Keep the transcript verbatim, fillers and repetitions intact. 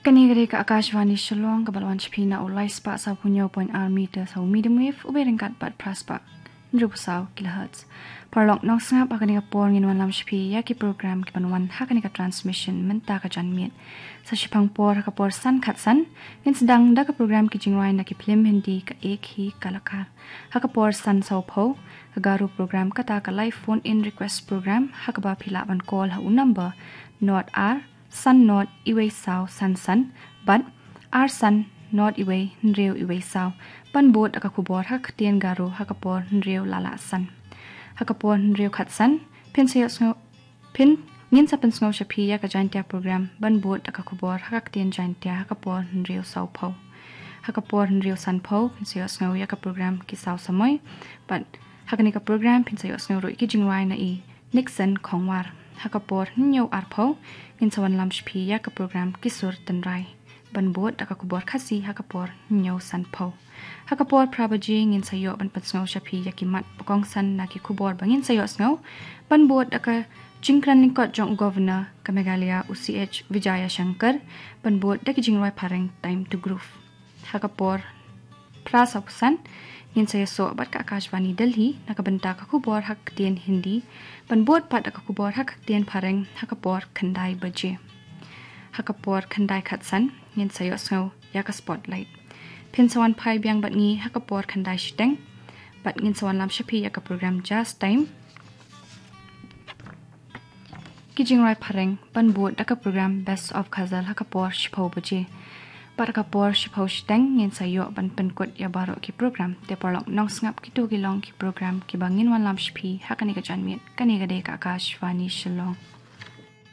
Kane ka dei ka Akashvani Shillong, kaba la wan sha phi na u lai spah saw phew hynñiew point ar meter ha u medium wave, u bei ryngkat bad phra spah hynriew phew saw kilohertz. Paralok nongsngap, ha kane ka por ngin wanlam sha phi ïa ki program kiban wan ha kane ka transmission mynta ka janmiet. Sa shiphang por, ha ka por san khatsan, ngin sdang da ka program ki jingrwai na ki phlim Hindi, ka Ek Hi Kalakar. Ha ka por san saw phew, ka Garo program, kata ka live phone in request program, ha kaba phi lah ban call ha u number nought ar san nought iwei saw san san bad ar san nought iwei hynriew iwei saw, ban bud da ka khubor ha ka ktien Garo ha ka por hynriew la lah san. Ha ka por hynriew khatsan, phin sa ïohsngew, phin, ngin sa pynsngew sha phi ïa ka Jaintia program ban bud da ka khubor ha ka ktien Jaintia ha ka por hynriew saw phew. Ha ka por hynriew san phew, phin sa ïohsngew ïa ka program Ki Saw Samoi, bad ha kane ka program phin sa ïohsngew ruh ïa ki jingrwai na i Nixon Khongwar. Ha ka por hynñiew ar phew, ngin sa wanlam sha phi ïa ka program Ki Sur Tynrai, ban bud da ka khubor Khasi ha ka por hynñiew san phew. Ha ka por phra baje, ngin sa ïoh ban pynsngew sha phi ïa ki mat ba kongsan na ki khubor ba ngin sa ïohsngew, ban bud da ka jingkren lyngkot jong u Governor ka Meghalaya, u C H Vijayashankar, ban bud da ki jingrwai phareng Time to Groove. Ha ka por phra saw phew san, ngin sa ïasoh bad ka Akashvani Delhi na ka bynta ka khubor ha ka ktien Hindi, ban bud pat da ka khubor ha ka ktien phareng ha ka por khyndai baje. Ha ka por khyndai khatsan, ngin sa ïohsngew ïa ka Spotlight. Phin sa wan phai biang bad ngi ha ka por khyndai shiteng, bad ngin sa wanlam sha phi ïa ka program Jazz Time, ki jingrwai phareng, ban bud da ka program Best of Ghazal ha ka por shiphew baje. Bad ha ka por shiphew shiteng, ngin sa ïoh ban pynkut ïa baroh ki program. Te paralok nongsngap, kito ki long ki program kiba ngin wanlam sha phi ha kane ka janmiet. Kane ka dei ka Akashvani Shillong.